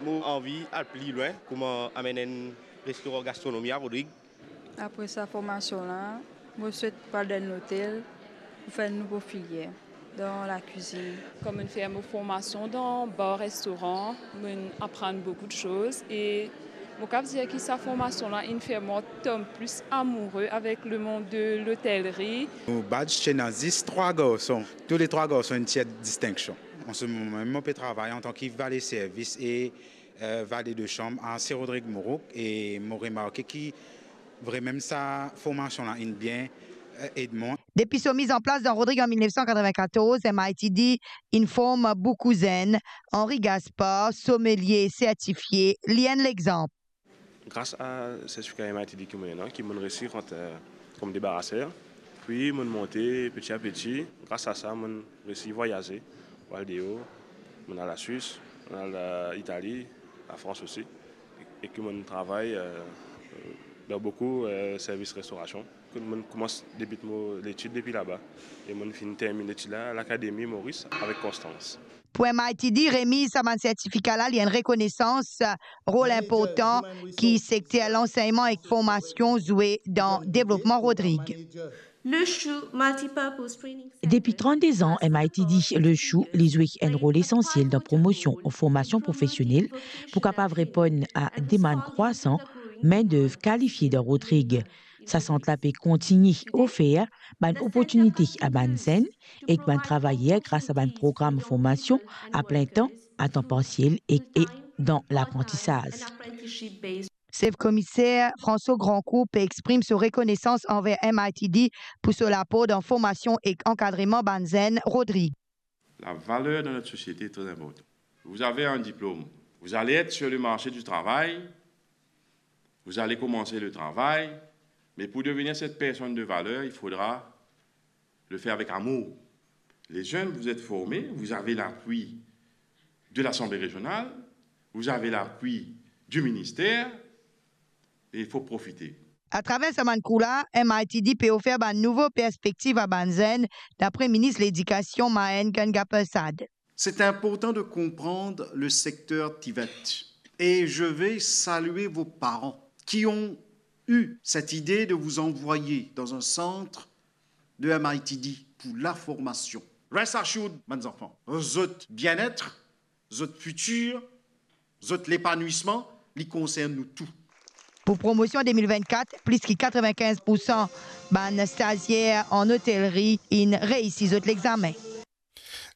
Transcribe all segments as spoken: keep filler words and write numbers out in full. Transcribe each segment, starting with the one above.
Mo anvi al pli lwin, kouma amenn enn restoran gastronomi a Rodrig. Apre sa formasion la, mo swet pran dan enn lotel pou fer enn nouvo filier dan lakwizinn. Kan mo'nn fer mo formasion dan bar restoran, mo'nn aprann boukou de soz e mo kav dir ki sa formasion la inn fer mwa tom plis amoure avek lemond de lotelri. Nou badz ti ena zis trwa garson. Tou le trwa garson inn tir distinksion. An se moman mem, mo pe travay antan ki vale servis e, eh, vale de sanm a Sir Rodrig Mourouk e mo remarke ki vremem sa formasion la inn bien, eh, ed mwa. Depi so miz an plas dan Rodrig an mil nef san katreven-katorz, M I T D inn form boukou zenn. Henri Gaspard, somelie sertifie, li enn lexanp. Gras a sertifika M I T D ki mo ena, ki mo'nn resi rant, eh, kom debaraser. Pi mo'nn monte peti a peti. Gras a sa, mo'nn resi vwayaze, al deor, mo'nn al Laswis, mo'nn al, eh, Itali, Lafrans osi. E ki mo'nn travay, eh, dan boukou, eh, servis restorasion. Ki mo'nn koumans debit mo letid depi laba. E mo'nn finn terminn letid la, Lakademi Moris avek Konstans. Pou M I T D, remiz sa bann sertifika la, li enn rekonesans rol inportan ki sekter lansegnman ek formasion zwe dan devlopman Rodrig. Le Chou Multipurpose Training Center. Depi trannde zan, M I T D Le Chou, li zwe enn rol esansiel dan promosion formasion profesionel pou kapav reponn a demann krwasan mindev kalifie dan Rodrig. Sa sant la pe kontigne ofer bann oportinite a bann zenn ek bann travayer gras a bann program formasion a plin tan, a tan parsiel ek, e dan laprantisaz. Sef Komiser François Grandcourt pe exprim so rekonesans anver M I T D pou so lapor dan formasion ek ankadreman bann zenn Rodrig. La valeur dans notre société est très importante. Vous avez un diplôme, vous allez être sur le marché du travail, vous allez commencer le travail, mais pour devenir cette personne de valeur, il faudra le faire avec amour. Les jeunes, vous êtes formés, vous avez l'appui de l'Assemblée régionale, vous avez l'appui du ministère, et il faut profiter. Atraver sa bann kour la, M I T D pe ofer bann nouvo perspektiv a bann zenn, dapre Minis Ledikasion Mahen Gangapersad. C'est important de comprendre le secteur TVET. Et je vais saluer vos parents qui ont eu cette idée de vous envoyer dans un centre de M I T D pour la formation. Rest assured, bann zanfan, zot bien-être, zot futur, zot lepanwisman, li konsern nou tou. Pou promosion de mil vennkat, plis ki katreven-kinz poursan bann stazier an otelri inn reisi zot lexame.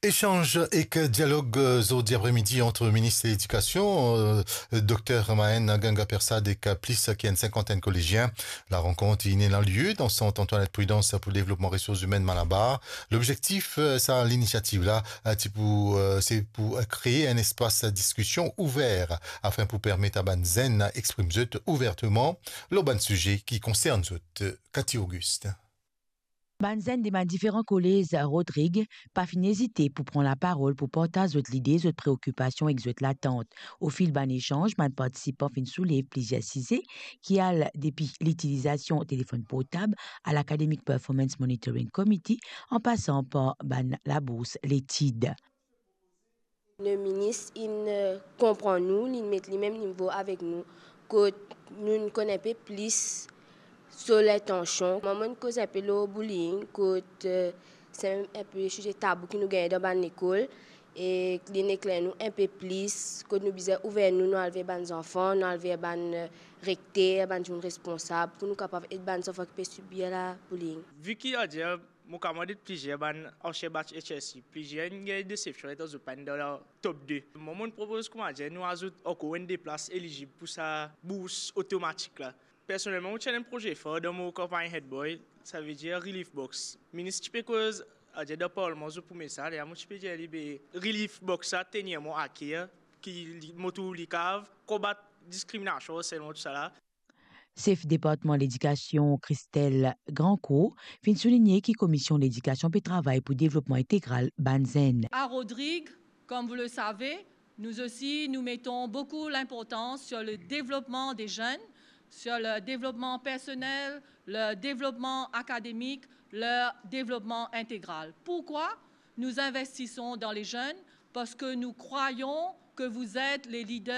Echanz ek dialog, euh, zordi apremidi ant minis ledikasion, euh, dokter Mahen Gangapersad ek plis ki enn sinkantenn kolezien. Larankonter inn ena lie dan sant Antoinette Prudence pou devlopman resours imenn Malabar. Lobzektif, euh, sa linisiativ la, euh, ti pou, euh, se pou, euh, kree enn espas diskision ouver afin pou permet a bann zenn exprim zot ouverteman lor bann size ki konsern zot. Cathy Auguste. Bann zenn de bann diferan kolez Rodrig pa finn ezite pou pran laparol pou partaz zot lide, zot preokipasion ek zot latant. Ofil bann echanz, bann partisipan finn soulev plizier size ki al depi litilizasion telefonn portab a l'Academic Performance Monitoring Committee, an pasan par bann labours letid. Le minis inn, euh, konpran nou, li met limem nivo avek nou, kot nou konn inpe plis so lintansion. Mwa, mo'nn koz inpe lor bullying, kot, euh, se inpe size tabou ki nou gagne dan bann lekol, e li'nn ekler nou inpe plis, kot nou bizin ouver nou, nou al ver bann zanfan, nou al ver bann, euh, rekter, bann dimoun responsab, pou nou kapav ed bann zanfan ki pe sibir la bullying. Vi ki, adir, mo kamarad ed plizier bann ansien batch H S C, plizier inn gagn desepsion letan zot pa'nn dan top de. Mwa, mo'nn propoz, koumadir, nou azout ankor enn de plas elizib pou sa bours otomatik la. Personelman, mo ti ena enn proze far dan mo kanpagn Head Boy, savedir Relief Box. Minis ti pe koz, adir, dan parlman zot pou met sa, lerla mo ti pe dir li, be, Relief Box sa tenir mwa aker, ki li, mo trouv li kav konbat diskriminasion, arselman, tousala. Sef departman ledikasion Christelle Grandcourt finn souligne ki Komision Ledikasion pe travay pou devlopman integral bann zenn. À Rodrigues, comme vous le savez, nous aussi, nous mettons beaucoup l'importance sur le développement des jeunes, sur le développement personnel, le développement académique, le développement intégral. Pourquoi nous investissons dans les jeunes ? Parce que nous croyons que vous êtes les leaders